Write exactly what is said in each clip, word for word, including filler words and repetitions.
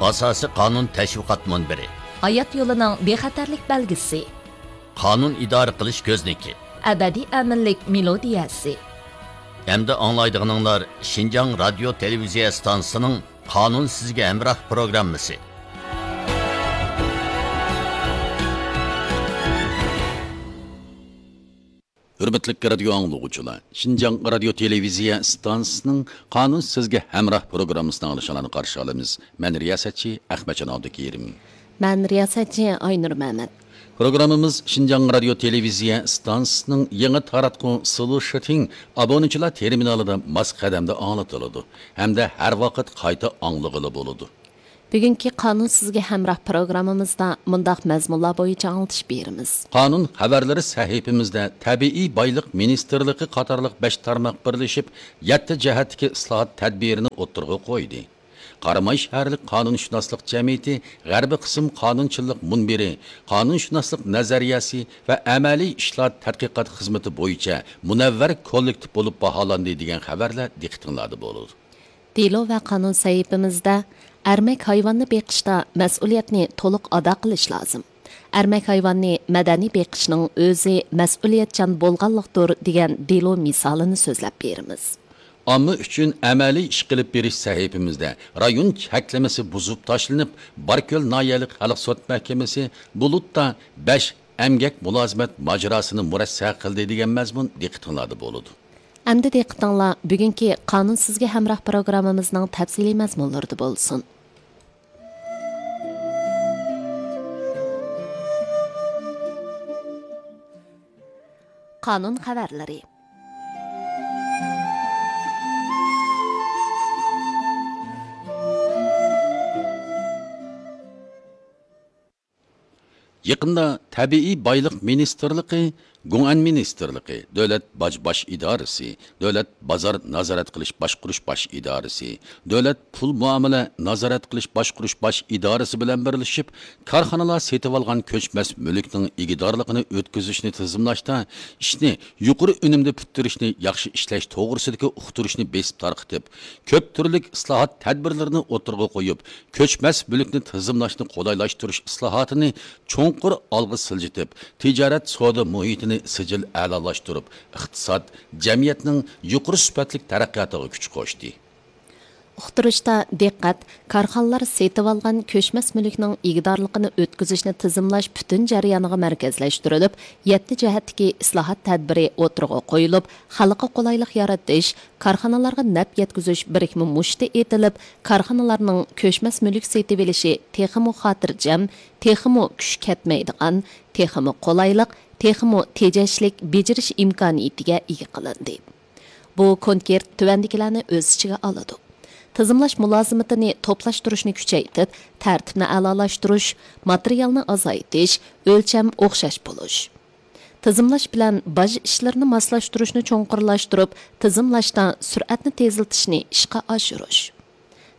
ئاساسىي قانۇن تەشۋىقات مۇنبىرى. ھايات يولىنىڭ بىخەتەرلىك بەلگىسى. قانۇن ئىدارە قىلىش كۆزنىكى. ئەبەدىي ئەمىنلىك مېلودىيەسى. ئەمدى ئاڭلايدىغىنىڭلار شىنجاڭ رادىيو تېلېۋىزىيە ئىستانسىسىنىڭ قانۇن سىزگە ھەمراھ پروگراممىسى. ھۆرمەتلىك رادىيو ئاڭلىغۇچىلار، شىنجاڭ رادىيو تېلېۋىزىيە ئىستانسىسىنىڭ قانۇن سىزگە ھەمراھ پروگراممىسىنى ئاڭلىشىڭلارنى قارشى ئالىمىز. مەن رىياسەتچى ئەخمەتجان ئابدۇكېرىم. مەن رىياسەتچى ئاينۇر مەمەت. پروگراممىمىز شىنجاڭ رادىيو تېلېۋىزىيە ئىستانسىسىنىڭ يېڭى تاراتقۇ سلۇشىتىڭ ئابونىچىلار تېرمىنالىدا ماس قەدەمدە ئاڭلىتىلىدۇ ھەمدە ھەر ۋاقىت قايتا ئاڭلىغىلى بولىدۇ. بۈگۈنكى قانۇن سىزگە ھەمراھ پروگراممىمىزدا مۇنداق مەزمۇنلار بويىچە ئاڭلىتىش بېرىمىز. قانۇن خەۋەرلىرى سەھىپىمىزدە تەبىئىي بايلىق مىنىستىرلىقى قاتارلىق بەش تارماق بىرلىشىپ، يەتتە جەھەتتىكى ئىسلاھات تەدبىرىنى ئوتتۇرىغا قويدى. قاراماي شەھەرلىك قانۇنشۇناسلىق جەمئىيىتى غەربىي قىسىم قانۇنچىلىق مۇنبىرى، قانۇنشۇناسلىق نەزەرىيەسى ۋە ئەمەلىي ئىشلار تەتقىقات خىزمىتى بويىچە مۇنەۋۋەر كوللېكتىپ بولۇپ باھالاندى دېگەن خەۋەرلەر دىققىتىڭلاردا بولىدۇ. دېلو ۋە قانۇن سەھىپىمىزدە ئەرمەك ھايۋاننى بېقىشتا مەسئۇلىيەتنى تولۇق ئادا قىلىش لازىم. ئەرمەك ھايۋاننى مەدەنىي بېقىشنىڭ ئۆزى مەسئۇلىيەتچان بولغانلىقتۇر دېگەن دېلو مىسالىنى سۆزلەپ بېرىمىز. ئامما ئۈچۈن ئەمەلىي ئىش قىلىپ بېرىش سەھىپىمىزدە رايون چەكلىمىسى بۇزۇپ تاشلىنىپ، باركۆل ناھىيەلىك خەلق سوت مەھكىمىسى بۇلۇتتا بەش ئەمگەك مۇلازىمەت ماجىراسىنى مۇرەسسە قىلدى دېگەن مەزمۇن دىققىتىڭلاردا بولىدۇ. ئەمدى دىققىتىڭلار بۈگۈنكى قانۇن سىزگە ھەمراھ پروگراممىمىزنىڭ تەپسىلىي مەزمۇنلىرىدا بولسۇن. قانۇن خەۋەرلىرى. يېقىندا تەبىئىي بايلىق مىنىستىرلىقى، گۇڭئەن مىنىستىرلىقى، دۆلەت باج باش ئىدارىسى، دۆلەت بازار نازارەت قىلىش باشقۇرۇش باش ئىدارىسى، دۆلەت پۇل مۇئامىلە نازارەت قىلىش باشقۇرۇش باش ئىدارىسى بىلەن بىرلىشىپ، كارخانىلار سېتىۋالغان كۆچمەس مۈلۈكنىڭ ئىگىدارلىقىنى ئۆتكۈزۈشنى تىزىملاشتا ئىشنى يۇقىرى ئۈنۈمدە پۈتتۈرۈشنى ياخشى ئىشلەش توغرىسىدىكى ئۇقتۇرۇشنى بېسىپ تارقىتىپ، كۆپ تۈرلۈك ئىسلاھات تەدبىرلىرىنى ئوتتۇرىغا قويۇپ، كۆچمەس مۈلۈكنى تىزىملاشنى قولايلاشتۇرۇش ئىسلاھاتىنى چوڭقۇر ئالغا سىلجىتىپ، تىجارەت سودا مۇھىتىنى سىجىل ئەلالاشتۇرۇپ، ئىقتىساد، جەمئىيەتنىڭ يۇقىرى سۈپەتلىك تەرەققىياتىغا كۈچ قوشتى. ئۇقتۇرۇشتا دىققەت كارخانىلار سېتىۋالغان كۆچمەس مۈلۈكنىڭ ئىگىدارلىقىنى ئۆتكۈزۈشنى تىزىملاش پۈتۈن جەريانىغا مەركەزلەشتۈرۈلۈپ، يەتتە جەھەتتىكى ئىسلاھات تەدبىرى ئوتتۇرىغا قويۇلۇپ، خەلققە قولايلىق يارىتىش، كارخانىلارغا نەپ يەتكۈزۈش بىرىكمە مۇشتى ئېتىلىپ، كارخانىلارنىڭ كۆچمەس مۈلۈك سېتىۋېلىشى تېخىمۇ خاتىرجەم، تېخىمۇ كۈچ كەتمەيدىغان، تېخىمۇ قولايلىق، تېخىمۇ تېجەشلىك بېجىرىش ئىمكانىيىتىگە ئىگە قىلىندى. بۇ كونكرېت تۆۋەندىكىلەرنى ئۆز ئىچىگە ئالىدۇ: تىزىملاش مۇلازىمىتىنى توپلاشتۇرۇشنى كۈچەيتىپ، تەرتىپنى ئەلالاشتۇرۇش، ماتېرىيالنى ئازايتىش، ئۆلچەم ئوخشاش بولۇش. تىزىملاش بىلەن باج ئىشلىرىنى ماسلاشتۇرۇشنى چوڭقۇرلاشتۇرۇپ، تىزىملاشتا سۈرئەتنى تېزلىتىشنى ئىشقا ئاشۇرۇش.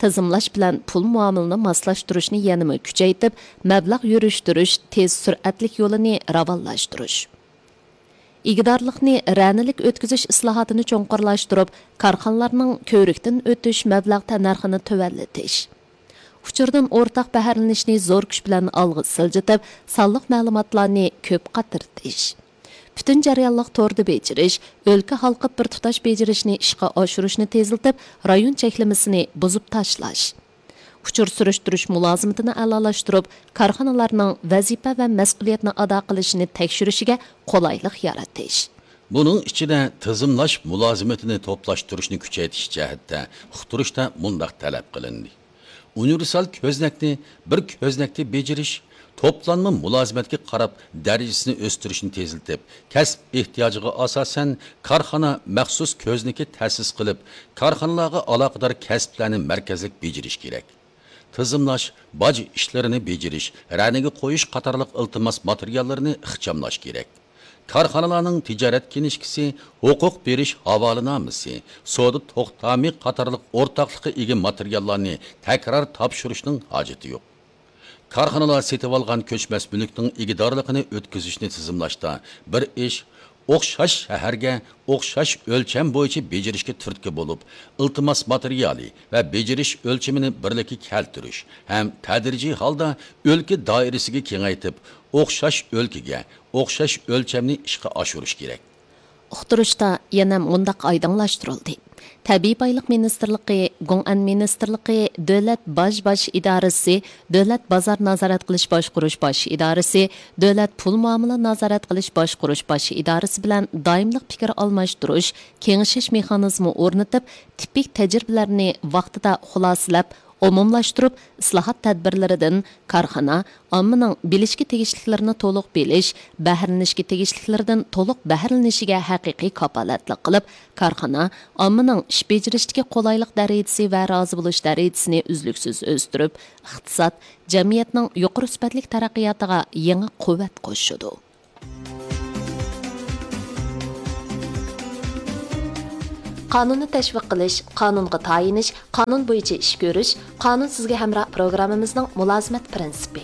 تىزىملاش بىلەن پۇل مۇئامىلىنى ماسلاشتۇرۇشنى يەنىمۇ كۈچەيتىپ، مەبلەغ يۈرۈشتۈرۈش تېز سۈرئەتلىك يولىنى راۋانلاشتۇرۇش. ئىگىدارلىقنى رەنىلىك ئۆتكۈزۈش ئىسلاھاتىنى چوڭقۇرلاشتۇرۇپ، كارخانىلارنىڭ كۆۋرۈكتىن ئۆتۈش مەبلەغ تەننەرخىنى تۆۋەنلىتىش. ئۇچۇردىن ئورتاق بەھرىلىنىشنى زور كۈچ بىلەن ئالغا سىلجىتىپ، سانلىق مەلۇماتلارنى كۆپ قاترىتىش. پۈتۈن جەريانلىق توردا بېجىرىش، ئۆلكە ھالقىپ بىر تۇتاش بېجىرىشنى ئىشقا ئاشۇرۇشنى تېزلىتىپ، رايون چەكلىمىسىنى بۇزۇپ تاشلاش. ئۇچۇر سۈرۈشتۈرۈش مۇلازىمىتىنى ئەلالاشتۇرۇپ، كارخانىلارنىڭ ۋەزىپە ۋە مەسئۇلىيەتنى ئادا قىلىشىنى تەكشۈرۈشىگە قولايلىق يارىتىش. بۇنىڭ ئىچىدە تىزىملاش مۇلازىمىتىنى توپلاشتۇرۇشنى كۈچەيتىش جەھەتتە ئۇقتۇرۇشتا مۇنداق تەلەپ قىلىندى: ئۇنىۋېرسال كۆزنەكنى بىر كۆزنەكتە بېجىرىش، توپلانما مۇلازىمەتكە قاراپ دەرىجىسىنى ئۆستۈرۈشنى تېزلىتىپ، كەسىپ ئېھتىياجىغا ئاساسەن كارخانا مەخسۇس كۆزنىكى تەسىس قىلىپ، كارخانىلارغا ئالاقىدار كەسىپلەرنى مەركەزلىك بېجىرىش كېرەك. تىزىملاش، باج ئىشلىرىنى بېجىرىش، رەنىگە قويۇش قاتارلىق ئىلتىماس ماتېرىياللىرىنى ئىخچاملاش كېرەك. كارخانىلارنىڭ تىجارەت كىنىشكىسى، ھوقۇق بېرىش ھاۋالىنامىسى، سودا توختامى قاتارلىق ئورتاقلىققا ئىگە ماتېرىياللارنى تەكرار تاپشۇرۇشنىڭ ھاجىتى يوق. كارخانىلار سېتىۋالغان كۆچمەس مۈلۈكنىڭ ئىگىدارلىقىنى ئۆتكۈزۈشنى تىزىملاشتا بىر ئىش، ئوخشاش شەھەرگە ئوخشاش ئۆلچەم بويىچە بېجىرىشكە تۈرتكە بولۇپ، ئىلتىماس ماتېرىيالى ۋە بېجىرىش ئۆلچىمىنى بىرلىككە كەلتۈرۈش ھەم تەدرىجىي ھالدا ئۆلكە دائىرىسىگە كېڭەيتىپ، ئوخشاش ئۆلكىگە ئوخشاش ئۆلچەمنى ئىشقا ئاشۇرۇش كېرەك. ئۇقتۇرۇشتا يەنە مۇنداق ئايدىڭلاشتۇرۇلدى: تەبىئىي بايلىق مىنىستىرلىقى، گۇڭئەن مىنىستىرلىقى، دۆلەت باج باش ئىدارىسى، دۆلەت بازار نازارەت قىلىش باشقۇرۇش باش ئىدارىسى، دۆلەت پۇل مۇئامىلە نازارەت قىلىش باشقۇرۇش باش ئىدارىسى بىلەن دائىملىق پىكىر ئالماشتۇرۇش، كېڭىشىش مېخانىزمى ئورنىتىپ، تىپىك تەجرىبىلەرنى ۋاقتىدا خۇلاسىلەپ، ئومۇملاشتۇرۇپ، ئىسلاھات تەدبىرلىرىدىن كارخانا ئاممىنىڭ بىلىشكە تېگىشلىكلىرىنى تولۇق بىلىش، بەھرىلىنىشكە تېگىشلىكلىرىدىن تولۇق بەھرىلىنىشىگە ھەقىقىي كاپالەتلىك قىلىپ، كارخانا ئاممىنىڭ ئىش بېجىرىشتىكى قولايلىق دەرىجىسى ۋە رازى بولۇش دەرىجىسىنى ئۈزلۈكسىز ئۆستۈرۈپ، ئىقتىساد، جەمئىيەتنىڭ يۇقىرى سۈپەتلىك تەرەققىياتىغا يېڭى قۇۋۋەت قوشىدۇ. قانۇننى تەشۋىق قىلىش، قانۇنغا تايىنىش، قانۇن بويىچە ئىش كۆرۈش، قانۇن سىزگە ھەمراھ پروگراممىمىزنىڭ مۇلازىمەت پىرىنسىپى.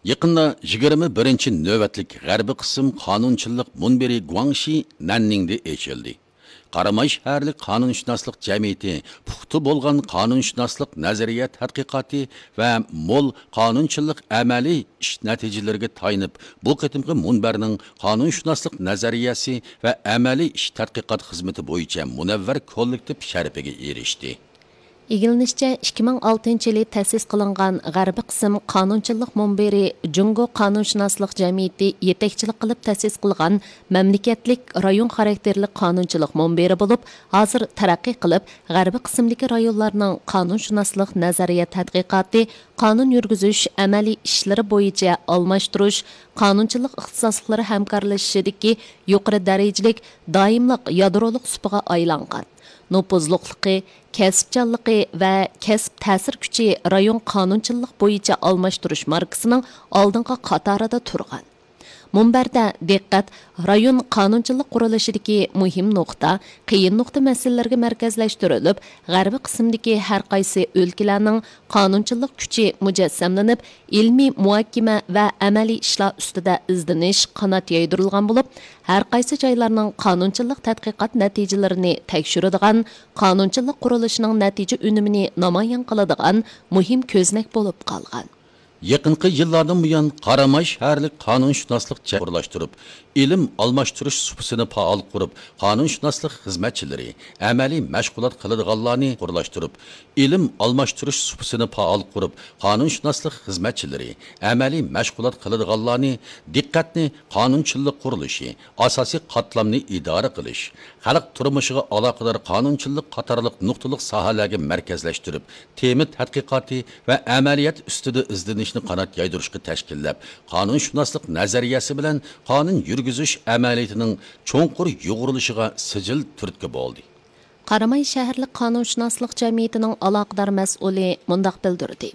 يېقىندا يىگىرمە بىرىنچى نۆۋەتلىك غەربىي قىسىم قانۇنچىلىق مۇنبىرى گۇاڭشى نەننىڭدە ئېچىلدى. قاراماي شەھەرلىك قانۇنشۇناسلىق جەمئىيىتى پۇختا بولغان قانۇنشۇناسلىق نەزەرىيە تەتقىقاتى ۋە مول قانۇنچىلىق ئەمەلىي ئىش نەتىجىلىرىگە تايىنىپ، بۇ قېتىمقى مۇنبەرنىڭ قانۇنشۇناسلىق نەزەرىيەسى ۋە ئەمەلىي ئىش تەتقىقات خىزمىتى بويىچە مۇنەۋۋەر كوللېكتىپ شەرىپىگە ئېرىشتى. ئىگىلىنىشىچە، ئىككى مىڭ ئالتىنچى يىلى تەسىس قىلىنغان غەربىي قىسىم قانۇنچىلىق مۇنبىرى جۇڭگو قانۇنشۇناسلىق جەمئىيىتى يېتەكچىلىك قىلىپ تەسىس قىلغان مەملىكەتلىك رايون خاراكتېرلىك قانۇنچىلىق مۇنبىرى بولۇپ، ھازىر تەرەققىي قىلىپ، غەربىي قىسىمدىكى رايونلارنىڭ قانۇنشۇناسلىق نەزەرىيە تەتقىقاتى، قانۇن يۈرگۈزۈش ئەمەلىي ئىشلىرى بويىچە ئالماشتۇرۇش، قانۇنچىلىق ئىختىساسلىقلىرى ھەمكارلىشىشىدىكى يۇقىرى دەرىجىلىك دائىملىق يادرولۇق سۇپىغا ئايلانغان. نوپۇزلۇقلۇقى، كەسىپچانلىقى ۋە كەسىپ تەسىر كۈچى رايون قانۇنچىلىق بويىچە ئالماشتۇرۇش ماركىسىنىڭ ئالدىنقى قاتارىدا تۇرغان. مۇنبەردە دىققەت رايون قانۇنچىلىق قۇرۇلۇشىدىكى مۇھىم نۇقتا، قىيىن نۇقتا مەسىلىلىرىگە مەركەزلەشتۈرۈلۈپ، غەربىي قىسىمدىكى ھەر قايسى ئۆلكىلەرنىڭ قانۇنچىلىق كۈچى مۇجەسسەملىنىپ، ئىلمىي مۇھاكىمە ۋە ئەمەلىي ئىشلار ئۈستىدە ئىزدىنىش قانات يايدۇرۇلغان بولۇپ، ھەر قايسى جايلارنىڭ قانۇنچىلىق تەتقىقات نەتىجىلىرىنى تەكشۈرىدىغان قانۇنچىلىق قۇرۇلۇشىنىڭ نەتىجە ئۈنۈمىنى نامايان قىلىدىغان مۇھىم كۆزنەك بولۇپ قالغان. يېقىنقى يىللاردىن بۇيان، قاراماي شەھەرلىك قانۇنشۇناسلىق جەمئىيىتى ئورۇنلاشتۇرۇپ، ئىلىم ئالماشتۇرۇش سۇپىسىنى پائال قۇرۇپ، قانۇنشۇناسلىق خىزمەتچىلىرى، ئەمەلىي مەشغۇلات قىلىدىغانلارنى ئورۇنلاشتۇرۇپ، ئىلىم ئالماشتۇرۇش سۇپىسىنى پائال قۇرۇپ، قانۇنشۇناسلىق خىزمەتچىلىرى، ئەمەلىي مەشغۇلات قىلىدىغانلارنى دىققەتنى قانۇنچىلىق قۇرۇلۇشى، ئاساسىي قاتلامنى ئىدارە قىلىش، خەلق تۇرمۇشىغا ئالاقىدار قانۇنچىلىق قاتارلىق نۇقتىلىق ساھەلەرگە مەركەزلەشتۈرۈپ، تېما تەتقىقاتى ۋە ئەمەلىيەت ئۈستىدە ئىزدىنىشنى قانات يايدۇرۇشقا تەشكىللەپ، قانۇنشۇناسلىق نەزەرىيەسى بىلەن قانۇن يۈرگۈزۈش ئەمەلىيىتىنىڭ چوڭقۇر يۇغۇرۇلۇشىغا سىجىل تۈرتكە بولدى. قاراماي شەھەرلىك قانۇنشۇناسلىق جەمئىيىتىنىڭ ئالاقىدار مەسئۇلى مۇنداق بىلدۈردى: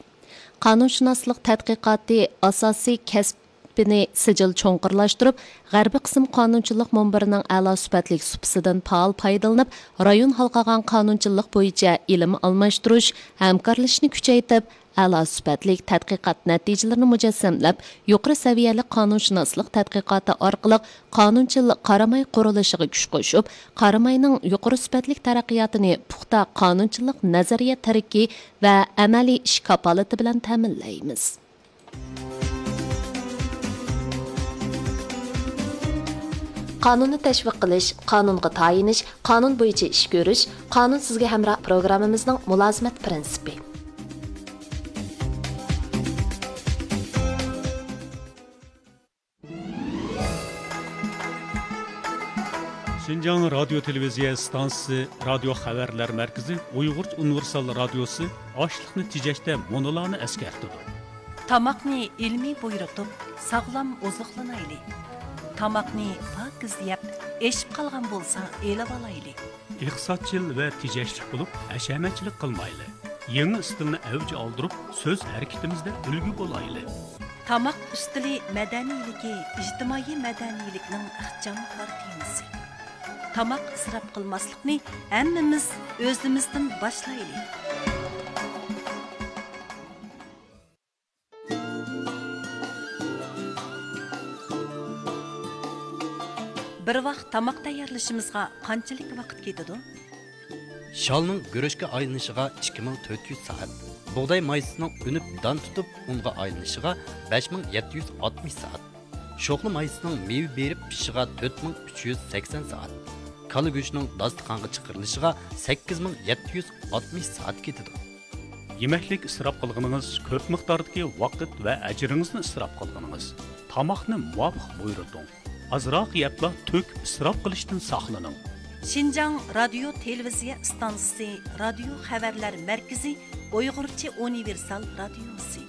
قانۇنشۇناسلىق تەتقىقاتى ئاساسىي كەسىپنى سىجىل چوڭقۇرلاشتۇرۇپ، غەربىي قىسىم قانۇنچىلىق مۇنبىرىنىڭ ئەلا سۈپەتلىك سۇپىسىدىن پائال پايدىلىنىپ، رايون ھالقىغان قانۇنچىلىق بويىچە ئىلىم ئالماشتۇرۇش، ھەمكارلىشىشنى كۈچەيتىپ، ئەلا سۈپەتلىك تەتقىقات نەتىجىلىرىنى مۇجەسسەملەپ، يۇقىرى سەۋىيەلىك قانۇنشۇناسلىق تەتقىقاتى ئارقىلىق قانۇنچىل قاراماي قۇرۇلۇشىغا كۈچ قوشۇپ، قاراماينىڭ يۇقىرى سۈپەتلىك تەرەققىياتىنى پۇختا قانۇنچىلىق نەزەرىيە تىرىكى ۋە ئەمەلىي ئىش كاپالىتى بىلەن تەمىنلەيمىز. قانۇننى تەشۋىق قىلىش، قانۇنغا تايىنىش، قانۇن بويىچە ئىش كۆرۈش، قانۇن سىزگە ھەمراھ پروگراممىمىزنىڭ مۇلازىمەت پىرىنسىپى. شىنجاڭ رادىيو تېلېۋىزىيە ئىستانسىسى رادىيو خەۋەرلەر مەركىزى ئۇيغۇرچە ئۇنىۋېرسال رادىيوسى ئاشلىقنى تېجەشتە مۇنۇلارنى ئەسكەرتىدۇ. تاماقنى ئىلمىي بۇيرۇتۇپ، ساغلام ئوزۇقلىنايلى. تاماقنى پاكىز يەپ، ئېشىپ قالغان بولسا ئېلىۋالايلى. ئىقتىسادچىل ۋە تېجەشلىك بولۇپ، ھەشەمەتچىلىك قىلمايلى. يېڭى ئىستىلنى ئەۋج ئالدۇرۇپ، سۆز ھەرىكىتىمىزدە ئۈلگە بولايلى. تاماق ئۈستىلى مەدەنىيلىكى ئىجتىمائىي مەدەنىيلىكنىڭ ئىخچام كارتىنىسى. تاماق ئىسراپ قىلماسلىقنى ھەممىمىز ئۆزىمىزدىن باشلايلى. بىر ۋاق تاماق تەييارلىشىمىزغا قانچىلىك ۋاقىت كېتىدۇ؟ شالنىڭ گۈرۈچكە ئايلىنىشىغا ئىككى مىڭ تۆت يۈز سائەت، بۇغداي مايسىسىنىڭ ئۈنۈپ دان تۇتۇپ ئۇنغا ئايلىنىشىغا بەش مىڭ يەتتە يۈز ئاتمىش سائەت، شوخلا مايسىسىنىڭ مېۋە بېرىپ پىشىشىغا تۆت مىڭ ئۈچ يۈز سەكسەن سائەت، كالا گۆشىنىڭ داستىخانغا چىقىرىلىشىغا سەككىز مىڭ يەتتە يۈز ئاتمىش سائەت كېتىدۇ. يېمەكلىك ئىسراپ قىلغىنىڭىز، كۆپ مىقداردىكى ۋاقىت ۋە ئەجرىڭىزنى ئىسراپ قىلغىنىڭىز. تاماقنى مۇۋاپىق بۇيرۇتۇڭ. ئازراق يەپلا تۆكۈپ ئىسراپ قىلىشتىن ساقلىنىڭ. شىنجاڭ رادىيو تېلېۋىزىيە ئىستانسىسى رادىيو خەۋەرلەر مەركىزى ئۇيغۇرچە ئۇنىۋېرسال رادىيوسى.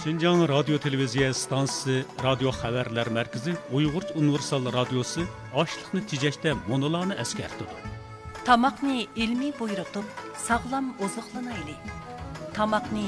شىنجاڭ رادىيو تېلېۋىزىيە ئىستانسىسى رادىيو خەۋەرلەر مەركىزى ئۇيغۇرچە ئۇنىۋېرسال رادىيوسى ئاشلىقنى تېجەشتە مۇنۇلارنى ئەسكەرتىدۇ. تاماقنى ئىلمىي بۇيرۇتۇپ، ساغلام ئوزۇقلىنايلى. تاماقنى